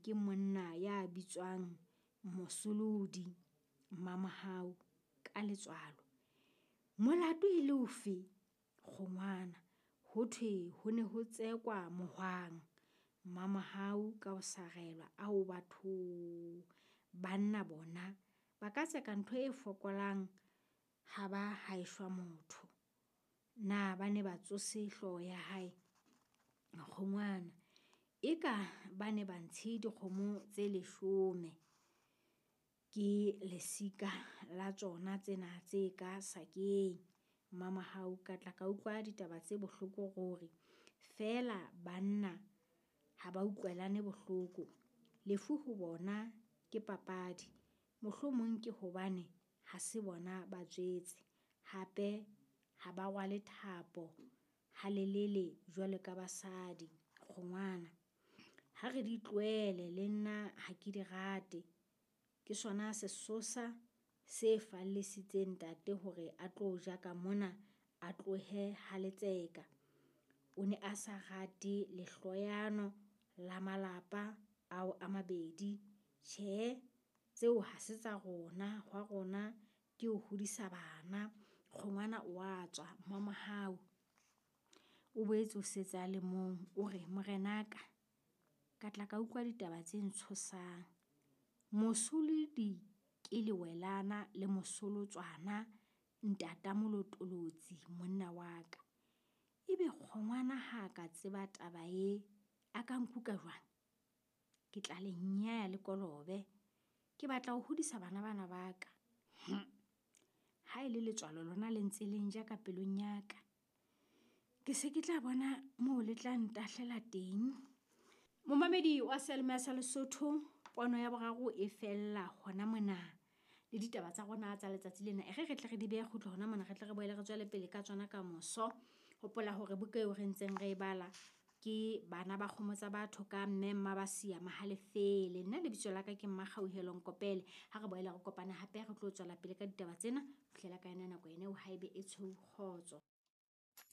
ke monna ya bitswang Mosolodi. Mmamohau ka letswalo. Molato e le ofe? Kgongwana. Ho thwe ho ne ho tsekwa mohwang. Mmamohau ka ho sarelwa. Ao bathong, banna bona ba ka tseka ntho e fokolang ha ba ha e shwa motho. Na ba ne ba tsose hlooho ya hae? Kgongwana. Eka ba ne ba ntshe dikgomo tse 10. Ke lesika la tsona tsena tse ka sakeng. Mmamohau ka tla ka utlwa ditaba tse bohloko ruri. Feela banna ha ba utlwelane bohloko. Lefu ho bona ke papadi. Mohlomong ke hobane ha se bona ba tswetse. Hape ha ba rwale thapo halelele jwalo ka basadi. Kgongwana. Ha re di tlohele, le nna ha ke di rate. Ke sona sesosa se fallisitseng ntate hore a tlo ja ka mona, a tlohe ha letseka. O ne a sa rate lehloyano la malapa ao a mabedi. Tjhe, tseo ha se tsa rona, hwa rona ke ho hodisa bana. Kgongwana o a tswa. Mmamohau o boetse o setse a le mong. O re, morenaka ka tla ka utlwa ditaba tse ntshosang. Mosolodi ke lewelana le Mosolotswana ntata Molotolotsi monna wa ka. Ebe kgongwana ha a ka tseba taba e, a ka nkuka jwang? Ke tla le nyaya le kolobe. Ke batla ho hodisa bana bana ba ka. Ha e le letswalo lona le ntse le nja ka pelong ya ka. Ke se ke tla bona moo le tla ntahlela teng. Momamedi wa Seyalemoya sa Lesotho, pono ya boraro e fella hona mona. Le ditaba tsa rona tsa letsatsi lena. E re re tle re di behe kgutlo hona mona, re tle re boele re tswele pele ka tsona ka moso. Hopola hore buka eo re ntseng re e bala ke Bana ba Kgomo tsa Batho ka Mme Mmabasia Mahalefele. Nna lebitso la ka ke Mmakgauhelo Nkopele. Ha re boele re kopane hape re tlo tswela pele ka ditaba tsena. Fihlela ka yona nako ena eo haebe e tshweu kgotso.